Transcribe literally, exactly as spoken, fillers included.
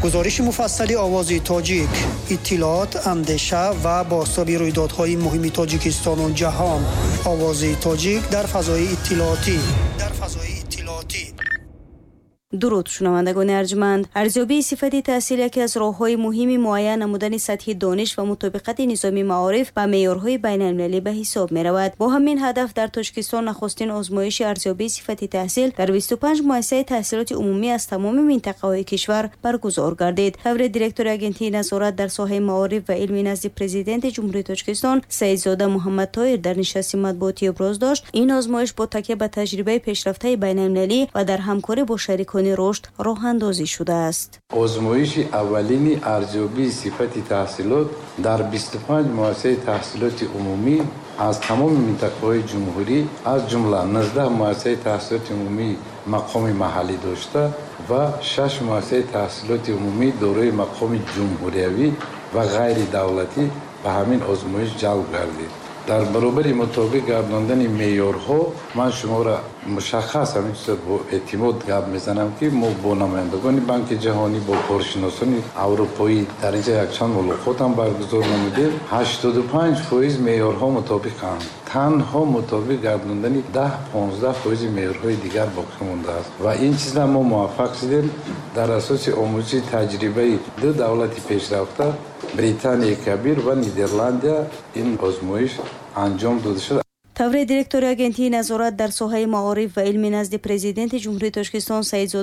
Гузориши муфассали Овози Тоҷик, иттилоот, андеша ва бозтоби рӯйдодҳои муҳими Тоҷикистону ҷаҳон. Овози Тоҷик дар фазои иттилоотӣ, дар фазои иттилоотӣ. Дуруд, шунавандагони арҷманд. Арзёбии сифати таҳсил яке аз роҳҳои муҳими муайян намудани сатҳи дониш ва мутобиқати низоми маориф ба меъёрҳои байналмилалӣ ба ҳисоб меравад. Бо ҳамин ҳадаф дар Тоҷикистон нахустин озмоиши арзёбии сифати таҳсил дар бисту панҷ муассисаи таҳсилоти умумӣ аз тамоми минтақаҳои кишвар баргузор гардид. Тавре директори Агентии назорат дар соҳаи маориф ва илми назди Президенти Ҷумҳурии Тоҷикистон Саидзода Муҳаммадтоир дар нишасти матбуотӣ иброз дошт, ин озмоиш бо такя ба таҷрибаи пешрафтаи байналмилалӣ ва дар ҳамкорӣ бо шарикони рушд роҳандозӣ шудааст. Озмоиши аввалини арзёбии сифати таҳсилот дар бисту панҷ муассисаи таҳсилоти умумӣ аз тамоми минтақаҳои ҷумҳурӣ, аз ҷумла нуздаҳ муассисаи таҳсилоти умумӣ мақоми маҳаллӣ дошта ва шаш муассисаи таҳсилоти умумӣ дорои мақоми ҷумҳуриявӣ ва ғайридавлатӣ ба ҳамин озмоиш ҷалб гардид. Дар баробари мутобиқ гардондани меъёрҳо ман шуморо мушаххас ҳамин чизро бо эътимод гап мезанам, ки мо бо намояндагони Банки Ҷаҳонӣ, бо коршиносони аврупоӣ дар инҷа якчанд мулоқот ҳам баргузор намудем. Ҳаштоду панҷ фоиз меъёрҳо мутобиқанд, танҳо мутобиқ гардондани даҳ понздаҳ фоизи меъёрҳои дигар боқӣ мондааст ва ин чиза мо муваффақ шудем дар асоси омӯзиши таҷрибаи ду давлати пешрафта, Британияи Кабир ва Нидерландия, ин озмоиш анҷом дода шуд. Тавре директори Агентии назорат дар соҳаи маориф ва илми назди Президенти Ҷумҳурии Тоҷикистон Саидзода